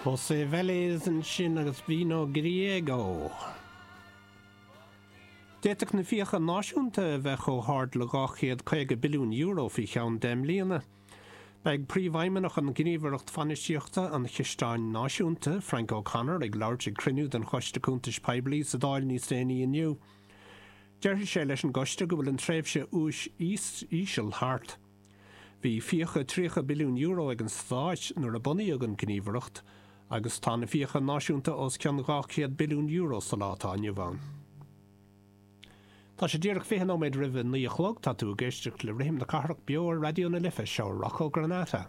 José Vélez ansin agus Vino Griego. D'fhéadfadh na fiacha náisiúnta a bheith chomh hard le €250 billiún faoi cheann 10 mbliana. Beidh Príomhfheidhmeannach an Ghníomhaireacht Bhainistíochta an Chisteáin Náisiúnta, Frank O'Connor, ag labhairt ag cruinniú den Choiste Cuntais Poiblí sa Dáil níos déanaí inniu. Déarfaidh sé leis an gcoiste go bhfuil an tréimhse úis íseal thart. Bhí fiacha €30 billiún ag an Stáit nuair a bunaíodh an Gníomhaireacht agus tá na fiacha náisiúnta os cionn €200 billiún sa lá atá inniu ann. Tá sé díreach 20 nóiméad roimh a 9 a chlog, tá tú ag éisteacht le Rithim na Cathrach beo ar Raidió na Life, seo Rocco Granata.